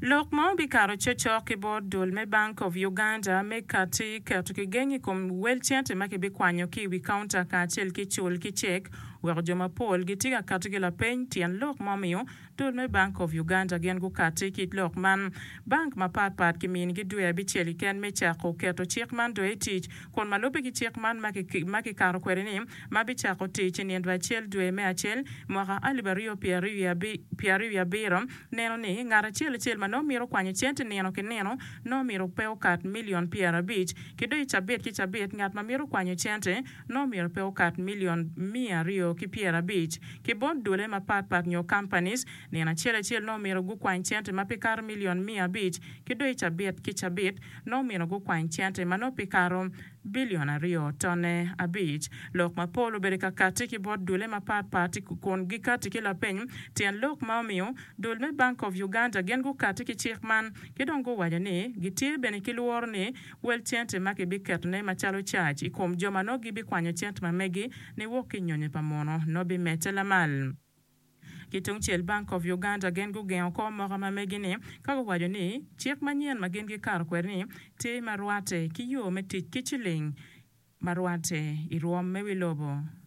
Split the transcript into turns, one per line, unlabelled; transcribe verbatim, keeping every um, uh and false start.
Lok ma obikato cokcok ki bot dul me Bank of Uganda me kati keto kigeng i kom wel cente ma kibikwanyo ki i wi kaunta kacel ki cul ki cek weko jo mapol gitye ka kato ki lapeny tyen lok ma omiyo dul me Bank of Uganda gin gukati ki lok man. Bank mapatpat kiminigi dwe abicel keken me cako keto cik man dong i tic kun ma lubbe ki cik man ma kikato kwede ni ma bicako tic i nino acel dwe me acel mwaka alip aryo pyera aryo wiye abiro neno ni ngat acel acel ma nongo mito kwanyo cente nino ki nino nongo myero pe okat milion pyera abic ki dong i cabit ki cabit ngat ma mito kwanyo cente nongo myero pe okat milion miya aryo ki pyera abic ki bot dule mapatpat nyo companies nino acel acel nongo myero gukwany cente ma pi kato milion miya abic ki dong i cabit ki cabit nongo myero gukwany cente ma nongo pi kato bilion aryo tone abic. Lok mapol obedo ka kati ki bot dule mapatpat kun gikati ki lapeny tyen lok ma omiyo dul me Bank of Uganda gin gukati ki cik man ki dong guwaco ni gitye bene ki lworo ni wel cente ma kibiketone macalo cac i kom jo ma nongo gibikwanyo cente ma megi niwok ki nyonyo pa muno nongo bimedde lamal. Ki tungcel Bank of Uganda gin gugengo ko moka ma megi ni ka guwaco ni cik manyen ma gin gikato kwede ni tye ma rwatte ki yo me tic ki ciling ma rwatte i rwom me wi lobo.